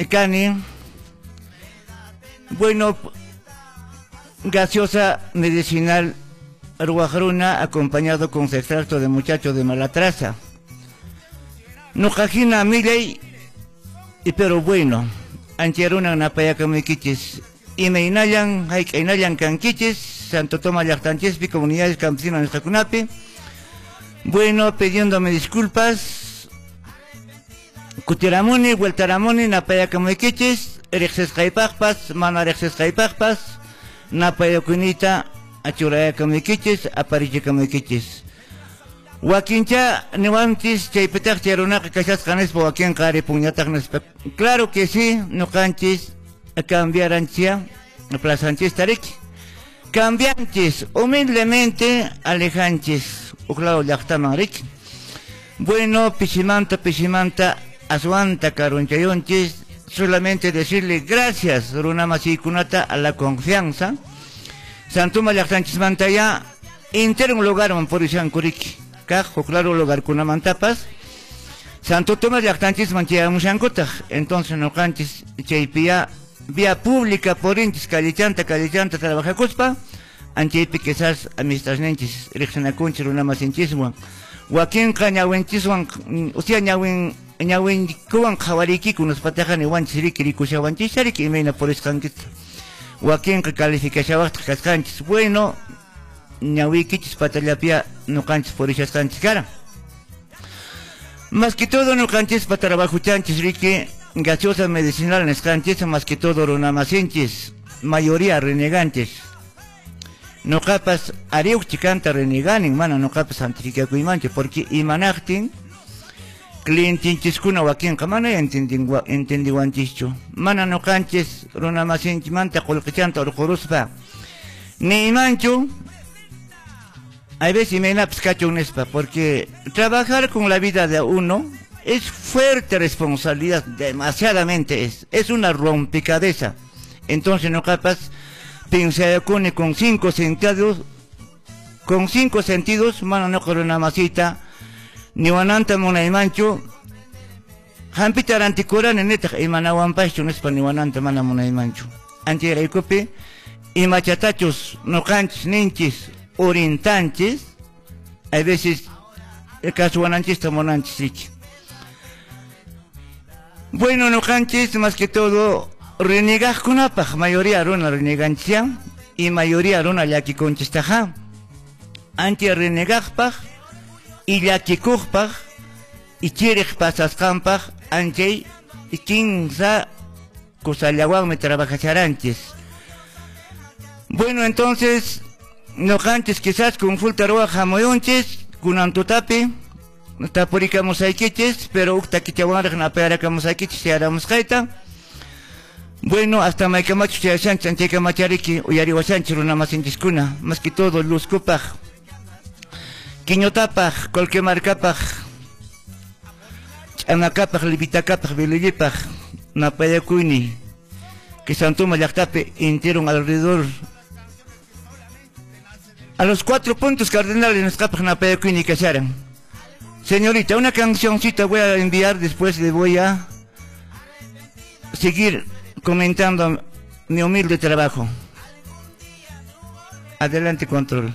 Kani, bueno, gaseosa medicinal ruwaq runa acompañado con su extracto de muchacho de mala traza. Nuqahina millay y pero bueno, ancharunan napayakamuykichis. Imaynallan, hayk'aynallan kankichis, Santo Tomás llaqtanchispi, comunidades campesinas nisqakunapi. Bueno, pidiéndome disculpas, kutiramuni, vueltaramuni, napayakamuykichis, riqsisqaypaqpas, mana riqsisqaypaqpas, napayakunita achurayakamuykichis, aparichikamuykichis. Wakincha niwanchis chaypitaq chay runaqa kashasqa nispa wakinqa aripunñataq nispa. Claro que sí, nuqanchis cambiaranchia plazanchis riki. Cambianchis, humildemente alejanchis, huk lado llaqtaman riki. Bueno, pisimanta, pisimanta, aswanta karunchayunchis, solamente decirle gracias, runa masiykunata, a la confianza. Santuma llaqtanchismanta ya, entero un lugar purishanku riki. Kaq huk lado lugarkunamantapas Santo Tomás llaqtanchisman chayamushankutaq. Entonces nuqanchis chaypiya vía pública purinchis callichanta callichanta trabajakuspa anchaypi quizás amistadninchis riqsinakunchis runa masinchiswan wakinqa ñawinchiswan, o sea, ñawin ñawinkuwan qhawariykiku nispataqa niwanchis riki rikushawanchis riki imayna purisqankita wakinqa calificashawaqtaq kasqanchis. Bueno, ñawiykichis patallapia nuqanchis purishasqanchis karan. Más que todo nuqanchispa trabajuchanchis riki gaseosa medicinal nisqanchis, más que todo runamasinchis, mayoría renegantes. Nuqapas ariuq chikanta reneganin, mana nuqapas santificakuymanchu, porque imanaqtin clientinchiskuna wakinqa mana entendiwanchischu. Mana nuqanchis runamasinchimanta qullqichanta urquruspa nimanchu. Hay veces imaynapas kachun nispa, porque trabajar con la vida de uno es fuerte responsabilidad, demasiadamente es una rompecabezas. Entonces nuqapas pensayakuni con cinco sentidos, con cinco sentidos, mana nuqa runamasita niwananta munaymanchu, hampita rantikurani nitaq imanawanpaschu nispa niwananta mana munaymanchu. Anchayraykupi imachatachus nuqanchis ninchis orientanchis, a veces kasuwananchista munanchis riki. Bueno, nuqanchis más que todo renegaqkunapaq, mayoría runa reneganchia y mayoría runa llakikunchistaqa. Ancha renegaqpaq y llakikuqpaq y chiriq pasasqanpaq anchay kinsa kusallawanmi trabajacharanchis. Bueno, entonces nuqanchis quizás consulta ruwaq hamuyunchis kunan tutapi tapurikamusaykichis, pero huk takichawanraq napayarakamusaykichis chayaramusqayta. Bueno, hasta maykamachus chayashanchis anchaykamachariki uyariwashanchis runamasinchiskuna, más que todo Luzcupaq, Quiñotapaq, Colquemarcapaq, Ch'anakapaq, Lipitakapaq, Bilillipaq, napayakuyni, que Santuma llaqtapi entero alrededor a los 4 puntos cardinales nisqapaq napayakuyni kasharan. Señorita, una cancioncita voy a enviar, después le voy a seguir comentando mi humilde trabajo. Adelante, control.